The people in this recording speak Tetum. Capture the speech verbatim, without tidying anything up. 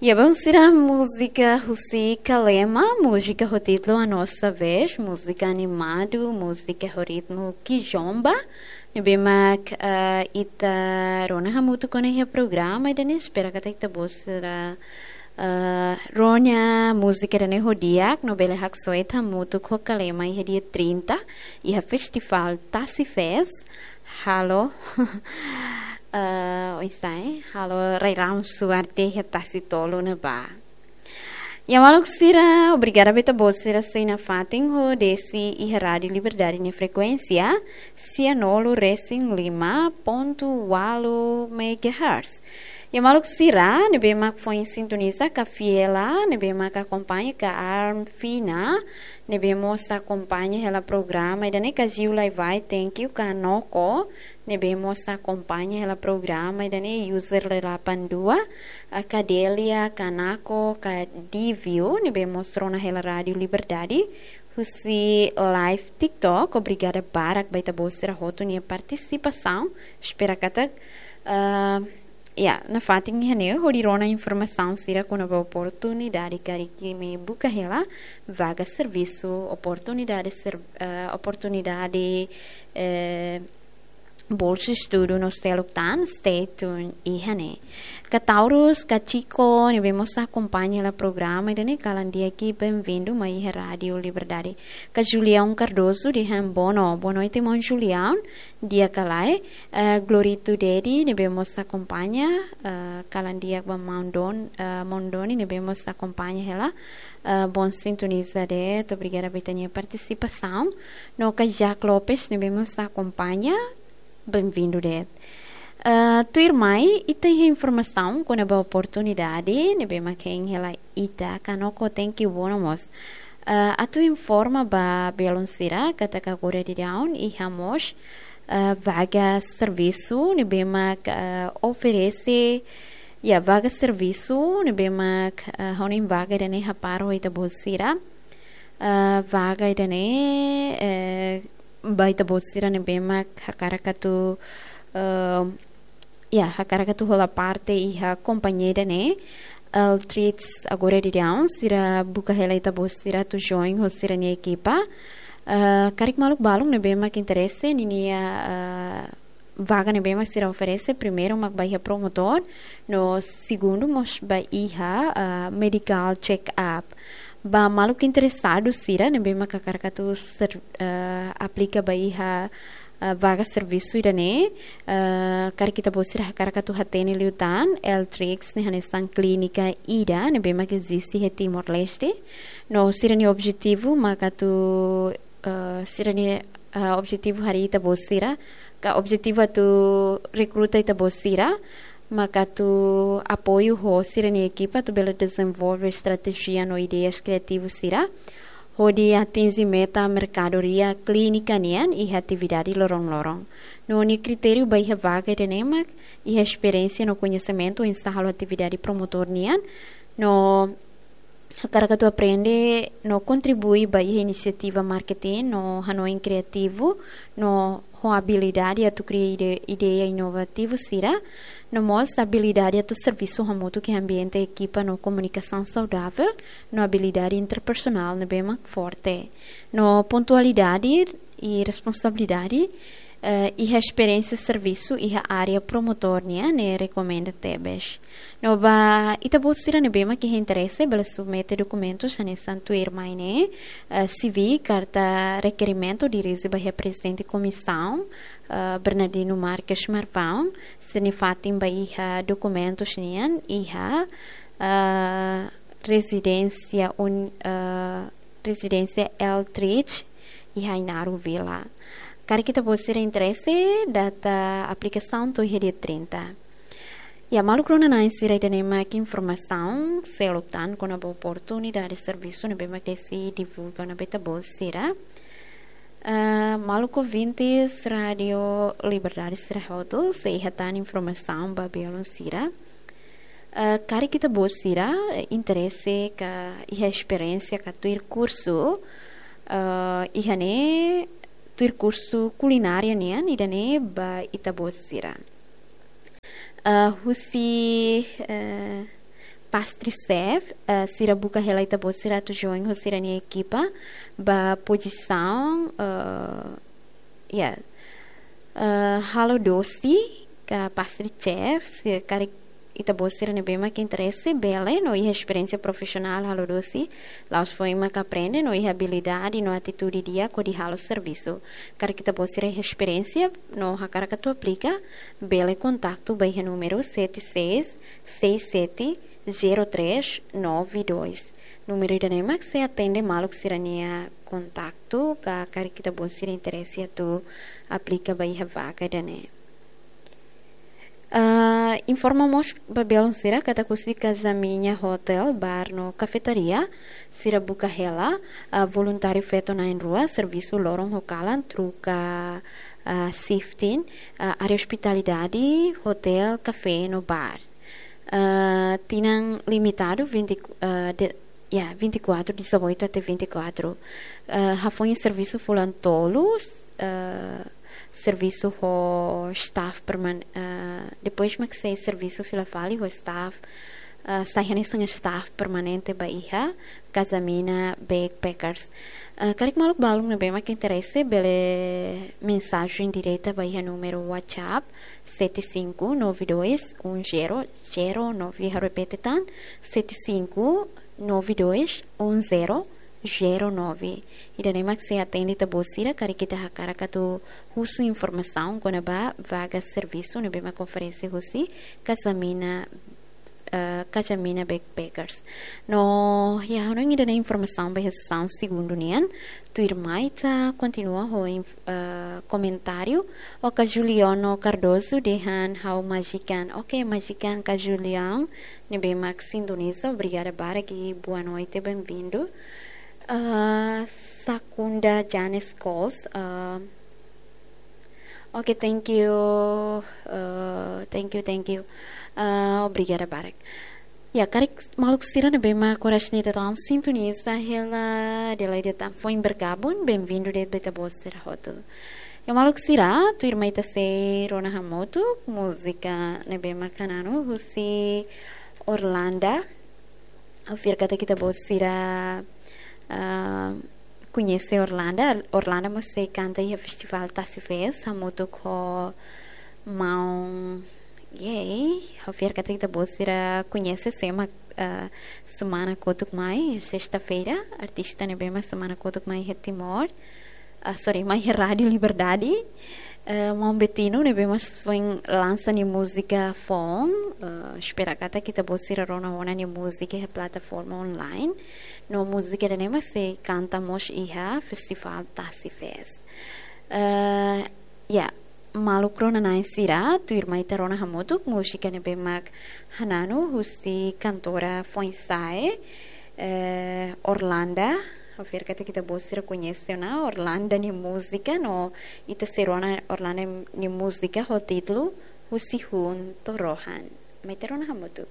Ya, belun sira, múzika husi Kalema, múzika ho títulu A Nossa Vez, múzika animadu, múzika ho ritmu kizomba. Ne'ebé mak, eh, ita rona hamutuk ona iha programa ida-ne'e, espera katak ita-boot sira, eh, rona múzika ida-ne'e ho di'ak, no bele haksoit hamutuk ho Kalema iha dia trinta, iha festivál Tasi Fest. Halo, eh, oinsá, eh? Halo rai-rahun suar tiha iha Tasi Tolu ne'ebá. Ya, maluk sira, obrigada ba ita-boot sira sei nafatin hodi sei iha Rádio Liberdade nia frekuénsia, sia nulu resin lima pontu ualu megahertz. Ya, maluk sira ne'ebé mak foin sintoniza ka Fiela, ne'ebé mak akompaña ka Armfina, ne'ebé mós akompaña hela programa ida-ne'e, ka Jiu Lai Vai, thank you, ka Noko, ne'ebé mós akompaña hela programa ida-ne'e, user delapan dua, ah, ka Delia, ka Nako, ka Divio, ne'ebé mós rona hela Rádio Liberdade husi live TikTok. Obrigada barak ba ita-boot sira hotu nia partisipasaun. Espera katak, ah, ya, nafatin iha ne'e hodi rona informasaun sira kona-ba oportunidade karik imi buka hela vaga servisu, oportunidade ser-, eh, oportunidade, eh, bolsa estudu no seluk tan, stay tuned iha ne'e. Ka Taurus, ka Chico, ne'ebé mós akompaña hela programa ida-ne'e, kalan di'ak, benvindu mai iha Rádio Liberdade. Ka Julião Cardoso dehan boa no-, boa noite, maun Julião, di'ak ka lae. Eh, Glorito Dedi, ne'ebé mós akompaña, eh, kalan di'ak ba maun Don-, eh, maun Doni, ne'ebé mós akompaña hela, eh, bom sintoniza de'it, obrigada ba ita-nia partisipasaun. No ka Jack Lopes, ne'ebé mós akompaña, benvindu de'it. Eh, tuirmai, ita iha informasaun kona-ba oportunidade ne'ebé mak hein hela ita, ka Noko, thank you, boa no mós. Eh, atu informa ba belun sira katak agora daudaun iha mós, eh, vaga servisu ne'ebé mak, eh, oferese, ya, vaga servisu ne'ebé mak, eh, hanoin vaga ida-ne'e hapara ho ita-boot sira. Eh, vaga ida-ne'e, eh, ba ita-boot sira ne'ebé mak hakarak atu, eh, ya, hakarak atu hola parte iha kompañia ida-ne'e. Altrix agora daudaun, sira buka hela ita-boot sira atu join ho sira-nia ekipa. Eh, karik maluk balun ne'ebé mak interese, ninia, eh, vaga ne'ebé mak sira oferese, primeiru mak ba iha promotór, no segundu mós ba iha, ah, medical check-up. Ba maluk interesadu sira ne'ebé mak hakarak atu ser-, ah, aplika ba iha, ah, vaga servisu ida-ne'e, ah, karik ita-boot sira hakarak atu hatene liután, Altrix ne'e hanesan klínika ida ne'ebé mak eziste iha Timor-Leste. No sira-nia objetivu mak atu, eh, sira-nia, eh, objetivu harii ita-boot sira, ka objetivu atu rekruta ita-boot sira, maka atu apoiu ho sira-nia ekipa atu bele dezenvolve estratéjia no ideias kriativas sira, hodi atinje meta merkadoria klínika nian iha atividade loron-loron. No nia kritériu ba iha vaga ida-ne'e mak iha esperiénsia no koñesimentu oinsá halo atividade promotór nian, no hakarak atu aprende no kontribui ba iha inisiativa marketing no hanoin kriativu, no ho abilidade atu kria ide-, ideia inovativu sira, no mós abilidade atu servisu hamutuk iha ambiente ekipa no komunikasaun saudável, no abilidade interpesoál ne'ebé mak forte. No pontualidade i responsabilidade, eh, iha esperiénsia servisu iha área promotór nian ne'e rekomenda tebes. No ba ita-boot sira ne'ebé mak iha interese bele submete dokumentus hanesan tuirmai ne'e, eh, C V, karta rekerimentu dirije ba iha Prezidente Komisaun, eh, Bernardino Marques Marvaun, sira-nia fatin ba iha dokumentus nian iha, eh, rezidénsia un-, eh, rezidénsia Altrix iha Ainaro Vila. Karik ita-boot sira interese, data aplikasaun to'o iha dia trinta. Ya, maluk rona-na'in sira, ida-ne'e mak informasaun seluk tan kona-ba oportunidade servisu ne'ebé mak sei divulga ona ba ita-boot sira. Ah, maluk ouvintes Rádio Liberdade sira hotu, sei iha tan informasaun ba belun sira. Ah, karik ita-boot sira, eh, interese ka iha esperiénsia ka tuir kursu, ah, iha ne'e tuir kursu kulinária nian, ida-ne'e ba ita-boot sira. Ah, husi, eh, pastry chef, eh, sira buka hela ita-boot sira atu join ho sira-nia ekipa ba pozisaun, eh, ya, eh, halo dosi ka pastry chef, se karik ita-boot sira ne'ebé mak interese, bele, no iha esperiénsia profisionál halo dosi, la'ós foin mak aprende, no iha abilidade no atitude di'ak hodi halo servisu. Karik ita-boot sira iha esperiénsia no hakarak atu aplika, bele kontaktu ba iha númeru sete seis seis sete zero três nove dois. Númeru ida-ne'e mak sei atende maluk sira-nia kontaktu, ka karik ita-boot sira interese atu aplika ba iha vaga ida-ne'e. Ah, informa mós ba belun sira katak husi Kazaminya Hotel, Bar no Kafetaria, sira buka hela, ah, voluntáriu feto na'in-rua, servisu loron ho kalan, troka, ah, shifting, ah, área ospitalidade, hotel, kafé no bar. Ah, tinan limitadu, vinte, ah, de, ya, vinte e quatro, dezoito até vinte e quatro. Ah, hafoin servisu fulan tolu, ah, servisu ho staff perman-, ah, depois mak sei servisu fila fali ho staff, ah, sai hanesan staff permanente ba iha Kazamina Backpackers. Ah, karik maluk balun ne'ebé mak interese, bele mensajen direta ba iha númeru WhatsApp sete cinco nove dois um zero zero nove. Ha'u repete tan, sete cinco nove dois um zero zero nove. Ida-ne'e mak sei atende ita-boot sira karik ita hakarak atu husu informasaun kona-ba vaga servisu ne'ebé mak oferese husi Kazamina, eh, Kazamina Backpackers. No, ya, ha'u hanoin ida-ne'e informasaun ba iha sesaun segundu nian. Tuirmai ita kontinua ho inf-, eh, komentáriu. Oka Juliano Cardoso dehan ha'u majikan. Oke, majikan ka Juliano ne'ebé mak sintoniza, obrigada barak i boa noite, bem-vindo. Ah, Sakunda Janes Coles, ah, oke, thank you, ah, thank you, thank you. Ah, obrigada barak. Ya, karik maluk sira ne'ebé mak oras ne'e daudaun sintoniza hela, dala ida tan foin bergabung, bem-vindo de'it ba ita-boot sira hotu. Ya, maluk sira, tuirmai ita sei rona hamutuk múzika ne'ebé mak hananu husi Orlanda. Ha'u fiar katak ita-boot sira, ah, koñese Orlanda. Orlanda mós sei kanta iha festivál Tasi Fest, hamutuk ho maun, yay. Ha'u fiar katak ita-boot sira koñese sé mak, ah, semana kotuk mai, sesta-feira, artista ne'ebé mak semana kotuk mai iha Timor. Ah, sorry, mai iha Rádiu Liberdade. Eh, maun Betinho ne'ebé mak foin lansa nia múzika foun. Eh, espera katak ita-boot sira rona ona nia múzika iha plataforma online. No múzika ida-ne'e mak sei kanta mós iha festivál Tasi Fest. Eh, ya, maluk rona-na'in sira, tuirmai ita rona hamutuk múzika ne'ebé mak hananu husi kantora foin-sa'e, eh, Orlanda. Ha'u fiar katak ita-boot sira koñese ona Orlanda nia múzika, no ita sei rona Orlanda nia múzika ho títulu Husi Hun To'o Rohan. Mai ita rona hamutuk.